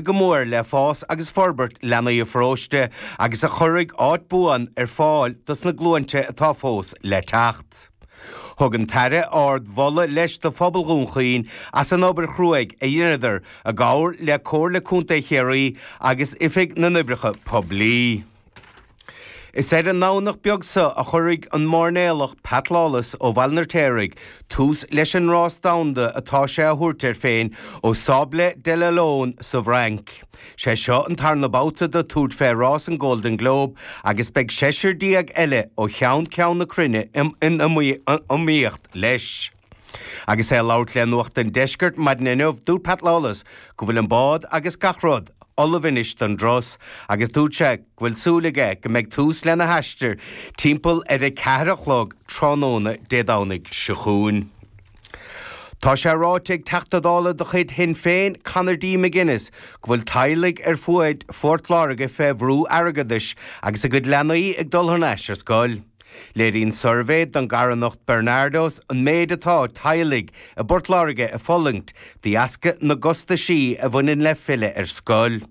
Go mór le fás agus forbairt leanaí an pharóiste agus a chuirfidh áit buan ar fáil dos na glúinte atá fós le teacht. Thug an tAire ard mholadh leis do phobal Dhún Chaoin as an obair chruaidh a dheineadar i gcomhar le Comhairle Contae Chiarraí agus Oifig na nOibreacha Poiblí. Is ar an nDomhnach beag seo a chuirfidh an mairnéalach Pat Lawless ó Bhaile an Fheirtéaraigh tús leis an rás domhanda atá sé a thabhairt air féin ó Sables d'Olonne sa bhFrainc. Sé seo an tarna babhta dó tabhairt fé rás an Golden Globe agus beidh 16 eile ó cheann ceann na cruinne in iomaíocht leis. Agus é ag labhairt le Nuacht an Deiscirt maidin inniu, dúirt Pat Lawless go bhfuil an bád agus gach rud ullamh anois don dturas agus dúirt sé go bhfuil súil aige go mbeidh tús lena haistear timpeall ar a ceathair a chlog tráthnóna Dé Domhnaigh seo chugainn. Tá sé ráite ag Teachta Dála de chuid Shinn Féin, Conor D. McGuinness, go bhfuil teaghlaigh ar fuaid Phort Láirge fé bhrú airgeadais agus a gcuid leanaí ag dul thar n-ais ar scoil. Léiríonn suirbhé don gcarthanacht Barnardos an méid atá teaghlaigh i bPort Láirge ag fulaingt de dheasca na gcostaisí a bhaineann le filleadh ar scoil.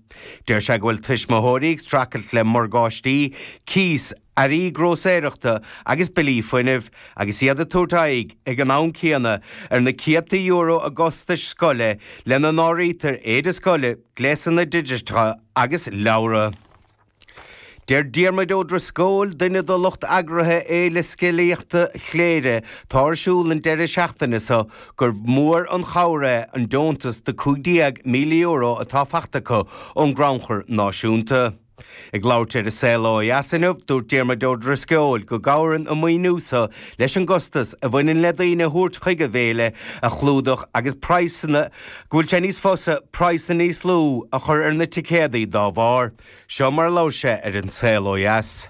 Deir sé go bhfuil tuismitheoirí ag streachailt le morgáistí, cíos, earraí grósaeireachta agus billí fuinnimh agus iad ag tabhairt aghaidh ag an am céanna ar na céadta euro i gcostais scoile lena n-áirítear éide scoile, gléasanna digiteacha agus leabhra. Deir Diarmuid Ó Drisceoil, duine de lucht eagraithe Fhéile Scéalaíochta Chléire atá ar siúl an deireadh seachtaine seo, gur mhór an chabhair é an deontas de €15,000 atá fachta acu ón gCrannchur Náisiúnta. Ag labhairt ar An Saol Ó Dheas inniu, dúirt Diarmuid Ó Drisceoil go gcabhraíonn an maoiniú seo leis an gcostas a bhaineann le daoine a thabhairt chuig an bhféile a chlúdach agus praghsanna go bhfuil sé níos fusa praghsanna níos lú a chur ar na ticéadaí dá bharr. Seo mar a labhair sé ar An Saol Ó Dheas.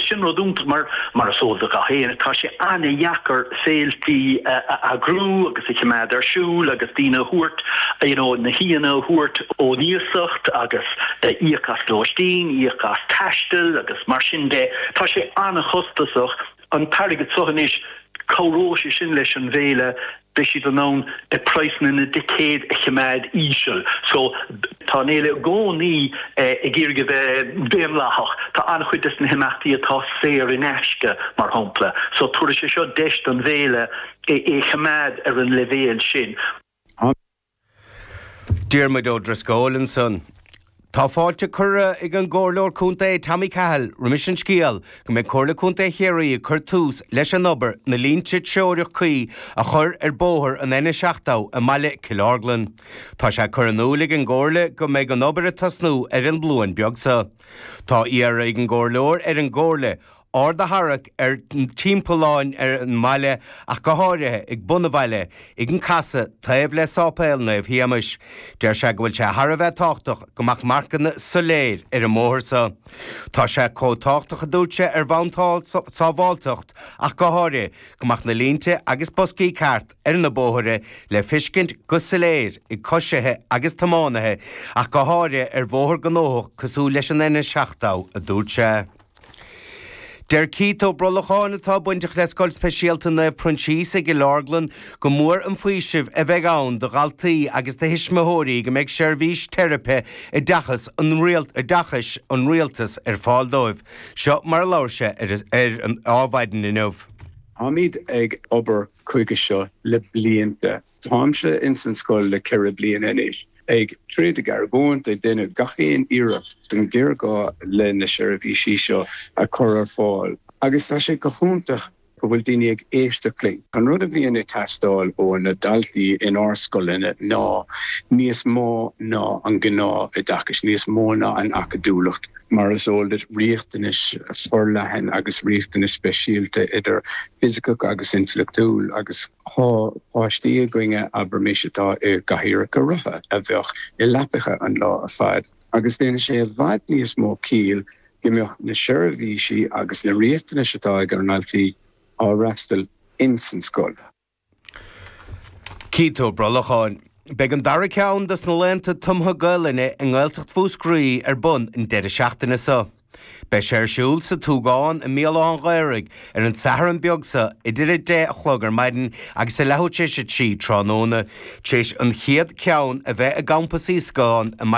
Sin rud iontach mar, mar is eol do gach éinne, tá sé an-dheacair féiltí a eagrú agus a choimeád ar siúl agus daoine a thabhairt, you know, na haíonna a thabhairt ón iasacht agus íoc as lóistín, íoc as taisteal agus mar sin de. Tá sé an-chostasach. An t-airgead seo anois, cabhróidh sé sin leis an bhféile beidh siad in ann praghsanna na dticéad a choimeád íseal. So, tá an fhéile i gcónaí ag iarraidh a bheith daonlathach. Tá an-chuid des na himeachtaí atá saor in aisce, mar shampla. So, tabharfaidh sé seo deis don bhféile é a choimeád ar an leibhéal sin. Diarmuid Ó Drisceoil ansan. Tá fáilte curtha ag an gComhairleoir Contae Tommy Cahill roimis an scéal go mbeidh Comhairle Contae Chiarraí ag cur tús leis an obair na línte treorach cuí a chur ar bóthar an N70 i mbaile Cill Orglan. Tá sé curtha in iúil ag an gComhairle go mbeidh an obair ag tosnú ar an Luan beag seo. Tá iarrtha ag an gComhairleoir ar an gComhairle aird a tharrac ar timpealláin ar an mbaile ach go háirithe ag bun an bhaile, ag an casadh taobh le Sáipéal Naomh Shéamais. Deir sé go bhfuil sé thar a bheith tábhachtach go mbeadh marcanna soiléir ar an mbóthar seo. Tá sé chomh tábhachtach a dúirt sé ar bhonn sábháilteacht ach go háirithe go mbeadh na línte agus boscaí ceart ar na bóithre le feiscint go soiléir ag coisithe agus tiománaithe ach go háirithe ar bhóthar gnóthach cosúil leis an N70, a dúirt sé. Deir Keith Ó Brolacháin, atá bainteach le Scoil Speisialta Naomh Proinsias i gCill Orglan, go mór an faoiseamh a bheidh ann do dhaltaí agus do thuismitheoirí go mbeidh seirbhís teiripe oideachas an oideachais an Rialtais ar fáil dóibh. Seo mar a labhair sé ar ar an Adhmhaidin inniu. Táimid ag obair chuige seo le blianta. Táimse ins an scoil le 4 bliana anois, ag troid, ag argóint, ag déanamh gach aon iarracht don ghéarghá le na seirbhísí seo a chur ar fáil agus tá sé go hiontach go bhfuil daoine ag éisteacht linn. An rud a bhíonn ag teastáil ó na daltaí inár scoileanna ná níos mó ná an gnáth-oideachas, níos mó ná an acadúlacht. Mar is eol duit, riachtanais forleathan agus riachtanais speisialta idir fisiceach agus intleachtúil agus. Tá páistí againne, abraimis, atá i gcathaoireacha rotha, a bheadh i leapacha an lá ar fad, agus déanann sé i bhfad níos mó ciall go mbeadh na seirbhísí agus na riachtanais atá ag ár ndaltaí á fhreastal ins an scoil. Keith Ó Brolacháin. Beidh an dara ceann dos na laethanta tumtha Gaelainne i nGaeltacht Mhúscraí ar bun an deireadh seachtaine seo. Beidh sé ar siúl sa tSúgán i mBéal Átha an Ghaorthaidh ar an Satharn beag seo idir 10 a chlog ar maidin agus a leathuair tar éis a 3 tráthnóna, tar éis an chéad ceann a bheith i gCampas Íoscán i mBaile.